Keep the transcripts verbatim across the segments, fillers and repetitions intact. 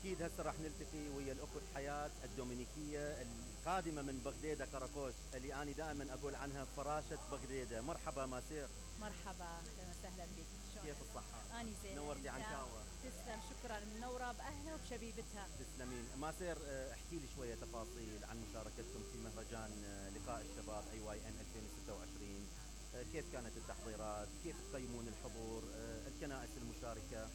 أكيد هسه راح نلتقي ويا الأخت حياة الدومينيكية القادمة من بغديدة كراكوش، اللي أنا دائما أقول عنها فراشة بغديدة. مرحبا ماسير. مرحبا، أهلا وسهلا بك. كيف الصحة؟ أنا زين. نورتي عنكاوة. تسلم، شكرا. منورة بأهلها وبشبيبتها. تسلمين. ماسير، احكي لي شوية تفاصيل عن مشاركتكم في مهرجان لقاء الشباب أي واي إم ألفين وستة وعشرين. كيف كانت التحضيرات؟ كيف تقيمون الحضور؟ الكنائس المشاركة؟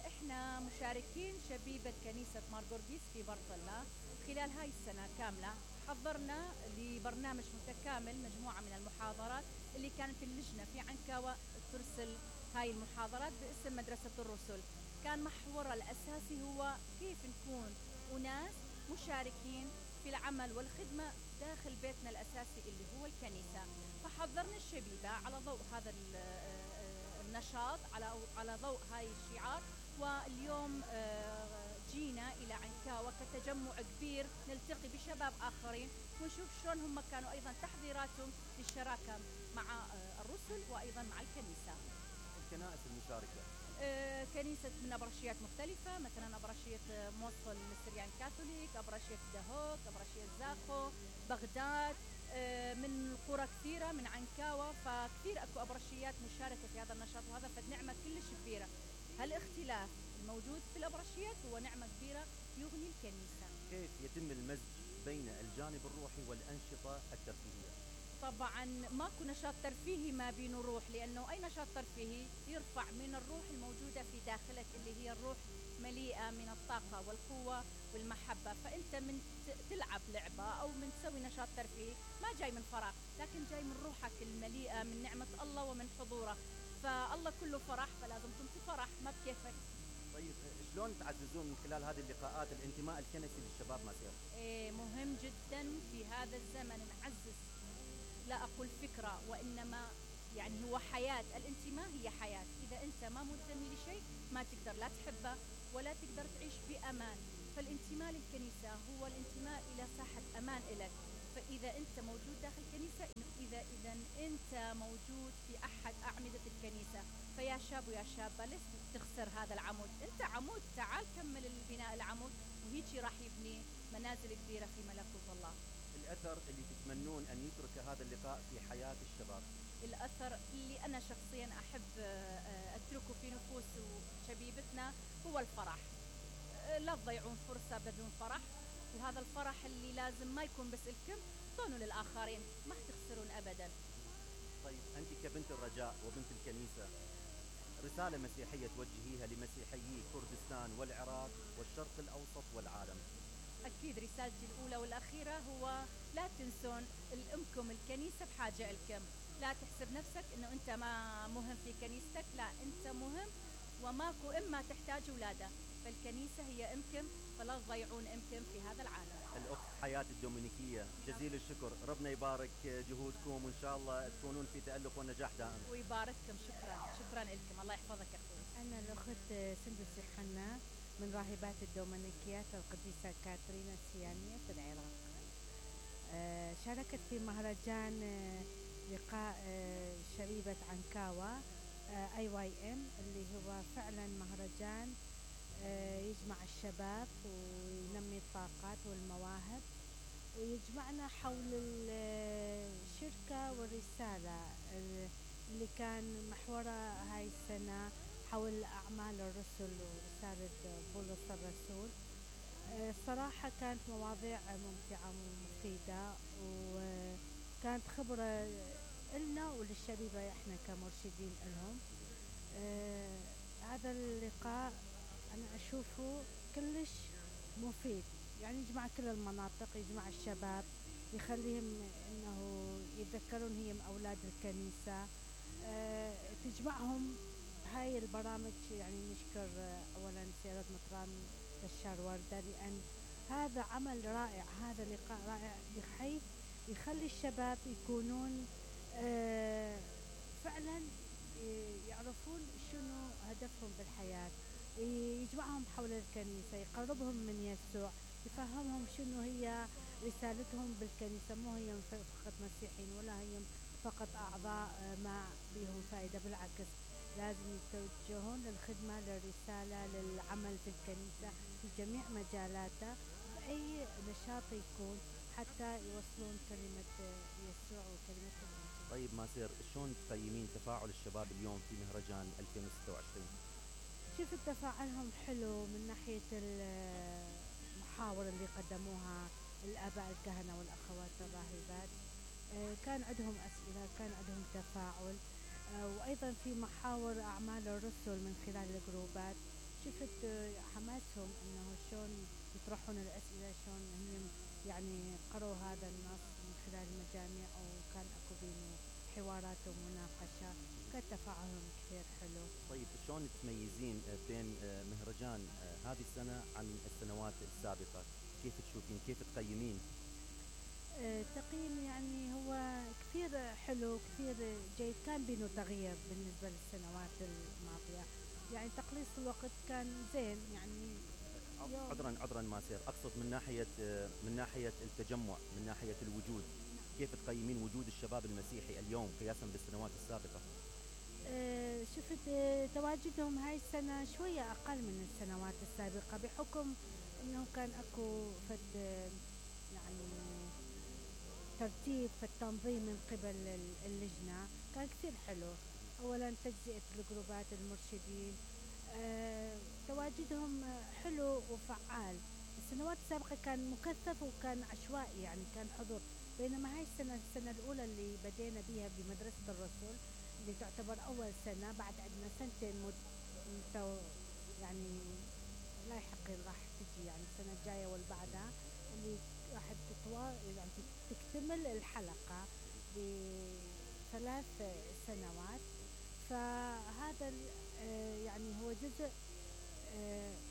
احنا مشاركين شبيبة كنيسة مارغورغيس في برطلة. خلال هاي السنة كاملة حضرنا لبرنامج متكامل مجموعة من المحاضرات اللي كانت اللجنة في عنكاوة ترسل هاي المحاضرات باسم مدرسة الرسل. كان محورها الأساسي هو كيف نكون أناس مشاركين في العمل والخدمة داخل بيتنا الأساسي اللي هو الكنيسة. فحضرنا الشبيبة على ضوء هذا النشاط، على على ضوء هاي الشعار. واليوم جينا إلى عنكاوة كتجمع كبير نلتقي بشباب آخرين ونشوف شلون هم كانوا أيضا تحضيراتهم للشراكة مع الرسل وأيضا مع الكنيسة. الكنائس المشاركة كنيسة من أبرشيات مختلفة، مثلا أبرشية موصل السريان كاثوليك، أبرشية دهوك، أبرشية زاخو، بغداد، من قرى كثيرة من عنكاوة. فكثير أكو أبرشيات مشاركة في هذا النشاط، وهذا فد نعمة كلش كبيرة. هالاختلاف الموجود في الأبرشيات هو نعمة كبيرة يغني الكنيسة. كيف يتم المزج بين الجانب الروحي والأنشطة الترفيهية؟ طبعا ماكو نشاط ترفيهي ما بينه روح، لأنه أي نشاط ترفيهي يرفع من الروح الموجودة في داخلك اللي هي الروح مليئة من الطاقة والقوة والمحبة. فأنت من تلعب لعبة أو من تسوي نشاط ترفيهي ما جاي من فراغ، لكن جاي من روحك المليئة من نعمة الله ومن حضوره. فالله كله فرح، فلازم تنطي فرح ما بكيفك. طيب شلون تعززون من خلال هذه اللقاءات الانتماء الكنسي للشباب ماسير؟ إيه مهم جدا في هذا الزمن نعزز، لا أقول فكرة وإنما يعني هو حياة. الانتماء هي حياة. إذا أنت ما منتمي لشيء ما تقدر لا تحبه ولا تقدر تعيش بأمان. فالانتماء للكنيسة هو الانتماء إلى ساحة أمان إلك. فإذا أنت موجود داخل الكنيسة، إذا إذا أنت موجود في أحد أعمدة الكنيسة، فيا شاب ويا شابة ليش تخسر هذا العمود؟ أنت عمود، تعال كمل البناء العمود، وهيجي راح يبني منازل كبيرة في ملكوت الله. الأثر اللي تتمنون أن يترك هذا اللقاء في حياة الشباب؟ الأثر اللي أنا شخصيا أحب أتركه في نفوس شبيبتنا هو الفرح. لا تضيعون فرصة بدون فرح، وهذا الفرح اللي لازم ما يكون بس لكم، طونوا للآخرين، ما تخسرون أبدا. طيب أنت كبنت الرجاء وبنت الكنيسة، رسالة مسيحية توجهيها لمسيحيي كردستان والعراق والشرق الأوسط والعالم؟ أكيد رسالتي الأولى والأخيرة هو لا تنسون الأمكم الكنيسة بحاجة لكم. لا تحسب نفسك أنه أنت ما مهم في كنيستك، لا أنت مهم، وماكو إما تحتاج ولادة، فالكنيسة هي أمكم، فلا تضيعون أمكم في هذا العالم. الأخت حياة الدومينيكية، جزيل الشكر، ربنا يبارك جهودكم وإن شاء الله تكونون في تألق ونجاح دائم. ويبارككم. شكرا شكرا لكم، الله يحفظك أخوي. أنا الأخت سندس يوحنا من راهبات الدومينيكيات القديسة كاترينا السيانية في العراق. آه شاركت في مهرجان آه لقاء آه شبيبة عنكاوة آه اي واي ام، اللي هو فعلا مهرجان آه يجمع الشباب وينمي الطاقات والمواهب، ويجمعنا حول الشركة والرسالة اللي كان محورها هاي السنة حول أعمال الرسل ورسالة بولس الرسول. صراحة كانت مواضيع ممتعة ومفيدة، وكانت خبرة إلنا وللشبيبة إحنا كمرشدين لهم. آه هذا اللقاء أنا أشوفه كلش مفيد، يعني يجمع كل المناطق، يجمع الشباب، يخليهم إنه يتذكرون هي أولاد الكنيسة. آه تجمعهم هاي البرامج. يعني نشكر أولا سيادة مطران بشار وردة، لأن هذا عمل رائع، هذا لقاء رائع بحيث يخلي الشباب يكونون آه فعلا يعرفون شنو هدفهم بالحياة، يجمعهم حول الكنيسة، يقربهم من يسوع، يفهمهم شنو هي رسالتهم بالكنيسة. مو هي فقط مسيحيين ولا هي فقط أعضاء ما بيهم فائدة، بالعكس لازم يتوجهون للخدمة للرسالة للعمل في الكنيسة في جميع مجالاتها بأي نشاط يكون حتى يوصلون كلمة يسوع وكلمة الإنجيل. طيب ماسير، شلون تقيمين تفاعل الشباب اليوم في مهرجان ألفين وستة وعشرين؟ شفت تفاعلهم حلو من ناحية المحاور اللي قدموها الآباء الكهنة والأخوات الراهبات. آه كان عندهم أسئلة، كان عندهم تفاعل، آه وأيضا في محاور أعمال الرسل من خلال الجروبات. شفت آه حماسهم أنه شلون يطرحون الأسئلة، شلون هم يعني قروا هذا النص من خلال المجامع، وكان أكو بينه حوارات ومناقشة، كان تفاعلهم كثير حلو. طيب شلون تميزين بين مهرجان هذه السنة عن السنوات السابقة؟ كيف تشوفين، كيف تقيمين؟ أه تقييم يعني هو كثير حلو، كثير جيد، كان بينه تغيير بالنسبة للسنوات الماضية، يعني تقليص الوقت كان زين يعني. عذرا عذرا ماسير، اقصد من ناحية من ناحية التجمع، من ناحية الوجود. كيف تقيمين وجود الشباب المسيحي اليوم قياسا بالسنوات السابقة؟ أه شفت أه تواجدهم هاي السنة شوية أقل من السنوات السابقة، بحكم أنه كان أكو فد يعني ترتيب في التنظيم من قبل اللجنة، كان كثير حلو. أولا تجزئة الجروبات المرشدين، أه تواجدهم حلو وفعال. السنوات السابقة كان مكثف وكان عشوائي، يعني كان حضور، بينما هاي السنة السنة الأولى اللي بدينا بها بمدرسة الرسل اللي تعتبر أول سنة بعد عندنا سنتين مد... يعني لاحقين راح تجي، يعني السنة الجاية والبعدها اللي راح تتوا... يعني تكتمل الحلقة بثلاث سنوات. فهذا يعني هو جزء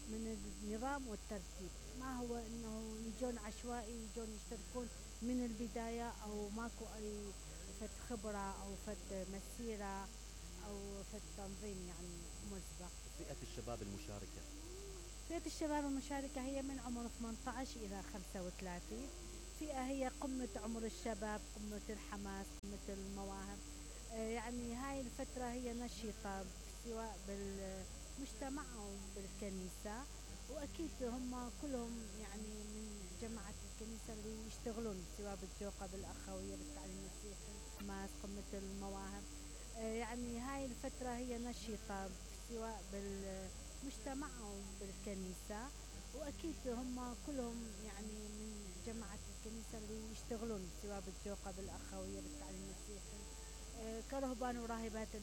من النظام والترتيب، ما هو انه يجون عشوائي، يجون يشتركون من البداية او ماكو اي فد خبرة او فد مسيرة او فد تنظيم يعني مسبق. فئة الشباب المشاركة فئة الشباب المشاركة هي من عمر ثمانية عشر إلى خمسة وثلاثين. فئة هي قمة عمر الشباب، قمة الحماس، قمة المواهب. آه يعني هاي الفترة هي نشيطة سواء بالمجتمع أو بالكنيسة، وأكيد هم كلهم يعني من جماعة الكنيسة اللي يشتغلون سواء بالجوقة، بالأخوية، بالتعليم المسيحي، الحماس، قمة المواهب. آه يعني هاي الفترة هي نشيطة سواء بالمجتمع أو بالكنيسة، وأكيد هم كلهم يعني من جماعة الكنيسة اللي يشتغلون سواء بالجوقة، بالأخوية، بالتعليم المسيحي، آه كرهبان وراهبات اللي